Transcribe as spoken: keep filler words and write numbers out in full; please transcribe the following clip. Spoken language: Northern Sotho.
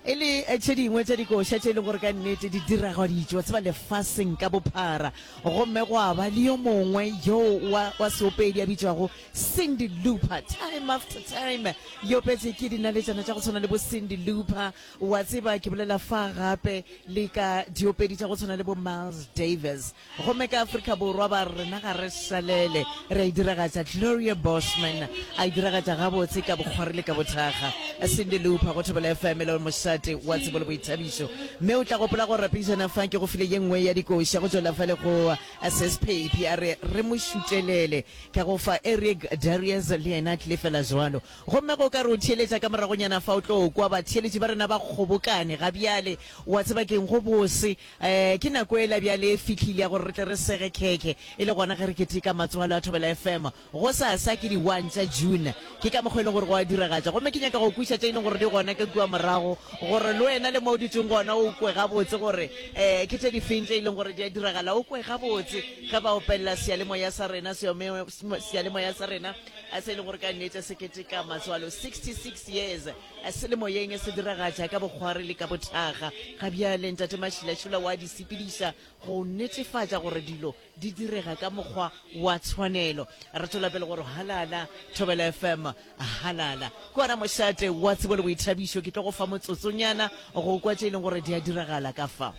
E le tše dingwe tša dikoša tše e leng gore ka nnete di diragaditšwe, wa tseba, lefaseng ka bophara. Gomme gwa ba le yo mongwe yo wa, wa seopedi a bitšwago Cyndi Lauper. Time After Time e opetše ke dinaletšana tša go tshwana le bo Cyndi Lauper, wa tseba, ke bolela fa gape le ka diopedi tša go tshwana le bo Miles Davis. Gomme ka Afrika Borwa ba re rena ga re šalele, re a e diragatša. Gloria Bosman a e diragatša gabotse ka bokgwari le ka bothakga. Cyndi Lauper go Thobela F M e le mošate wa tsebo le boithabišo. Mme o tla gopola gore pejana fa ke go file ye nngwe ya dikoša go tšwela fale go Sis Phephi a re re mo šutelele. Ka go fa Eric Darius le yena a tlile fela jwalo. Gomme ge o ka re o theeletša ka moragonyana fa o tlo kwa batheeletši ba rena ba kgobokane ga bjale. Wa tseba ke'ng, go bose. Um ke nako ela bjale e fihlile ya gore re tle re sege khekhe e le gona ge re keteka matswalo a Thobela F M. Gosasa ke di one tša June. Ke ka mokgwa e leng gore go a diragatša. Gomme ke nyaka go kweša tše e leng gore di gona ka kua morago gore le wena le mo o dutšeng gona o kwe gabotse gore um ke tše difeng tše e leng gore di a diragala. O kwe gabotse ge ba opelela seyalemoya sa rena, seyalemoya sa rena se e leng gore ka nnete se keteka matswalo sixty-six years se le moyeng, se diragatša ka bokgwari le ka bothakga. Ga bjale Ntate Mašilašila wa di sepediša go netefatša gore dilo di direga ka mokgwa wa tshwanelo. Re tšwela pele gore halala Thobela F M, halala ke wona mošate wa tsebo le boithabišo. Ke tlo go fa motsotsonyana go kwa tše e leng gore di a diragala ka fa.